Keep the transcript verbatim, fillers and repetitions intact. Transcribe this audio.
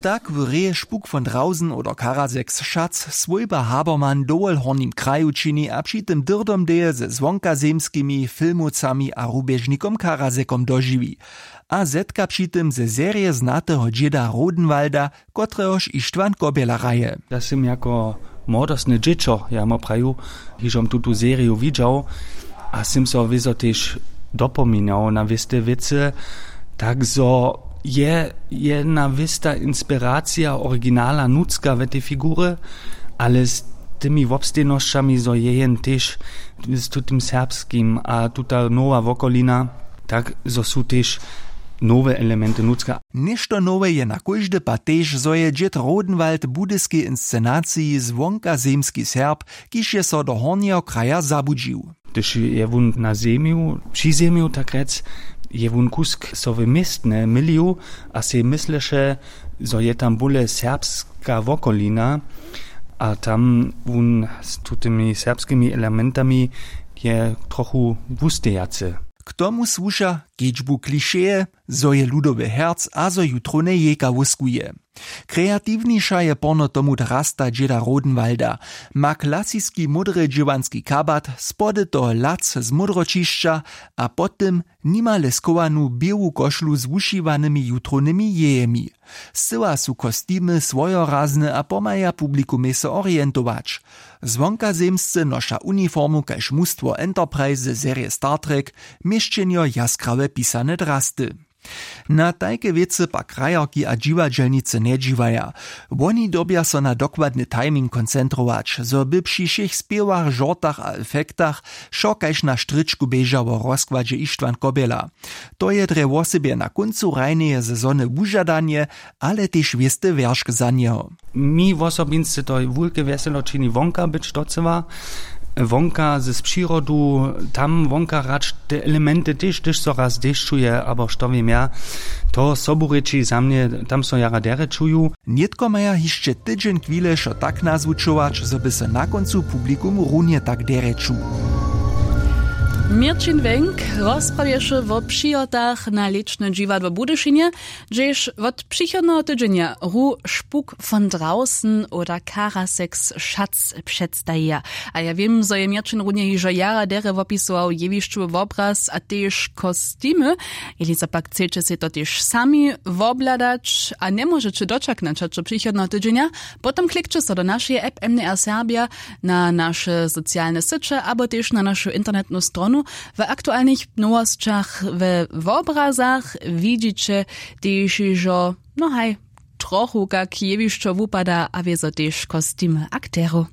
Tak w reje špuk von drausen oder karasek z šac swójba habermann dowol w hornim kraju čini a při tym dyrdomdeje ze zwonkazemskimi filmowcami a rubježnikom karasekom dožiwi, a zetka při tym ze serje znateho dźěda rodenwalda, kotrehož ištwan kobjela hraje. Ja sym jako młodostne dźěćo, ja ma praju, hižom tutu seriju widźał, a sym so wězo tež dopominał na wěste wěcy, tak zo je jedna wěsta inspiracija originala nutřka we tej figurje, ale z tymi wobstejnosćami zo je jen tež z tutym serbskim a tuta nowa wokolina, tak zo su tež nowe elementy nutřka. Něšto nowe je na kóždy pad tež, zo je dźěd rodenwald w budyskej inscenaciji zwonkazemski serb, kiž je so do hornjeho kraja zabudźił. Hdyž je wón na zemju při zemju tak rjec, je wón kusk so w městnje mylił a sej mysleše, zo je tam bóle serbska wokolina, a tam wón z tutymi serbskimi elementami je trochu wustejacy. K tomu słuša kedźbu klišeje, zo je ludowy herc a zo jutrowne jejka wóskuje. Kreatiwniša je porno tomu drasta dźěda rodenwalda, ma klasiski módry dźěłanski kabat, spody toho lac z módroćišća, a pod tym nimale schowanu běłu košlu z wušiwanymi jutrownymi jejemi. Scyła su kostimy swojorazne a pomhaja publikumej so orientować. Zwonkazemsce noša uniformu kaž mustwo enterprise ze serje star trek, měšćenjo jaskrawe pisane drasty. Na tajke wěcy pak krajerki a dźiwadźelnicy njedźiwaja. Woni dyrbja so na dokładny timing koncentrować, zo by při wšěch spěwach žortach a efektach wšo kaž na štrěčku běžało w rozkładźe ištwan kobjela. To je drje wosebje na kóncu hrajneje sezony wužadanje, ale tež wěsty wjeršk za njeho. Mi wosobinsce to wulke wjeselo čini wonka być docyła, wonka z přirodu, tam wonka hrać te elementy tež hdyž so raz dešćuje abo što wěm ja, to sobu rěči za mnje, tam so jara derje čuju. Nětko maja hišće tydźeń chwile wšo tak nazwučować, zo by so na kóncu publikum runje tak derje čuł. Měrćin Wenk rozprawješe wo přihotach na lěčne dźiwadło w Budyšinje, hdźež wot přichodneho tydźenja ru špuk von drausen oder karasek z šac předstajija. A ja wěm, zo je měrćin runje hižo jara derje wopisował jewišćowy wobraz a tež kostimy. Jeli zo pak chceće sej to tež sami wobhladać a njemóžeće dočaknać hač do přichodneho tydźenja, potom klikće so do našeje app mdr serbja, na naše socialne syće abo tež na našu internetnu stronu. W aktualnych nowosćach we wobrazach widźiće tež hižo, no haj, trochu kak jewišćo wupada a wězo tež kostimy akterow.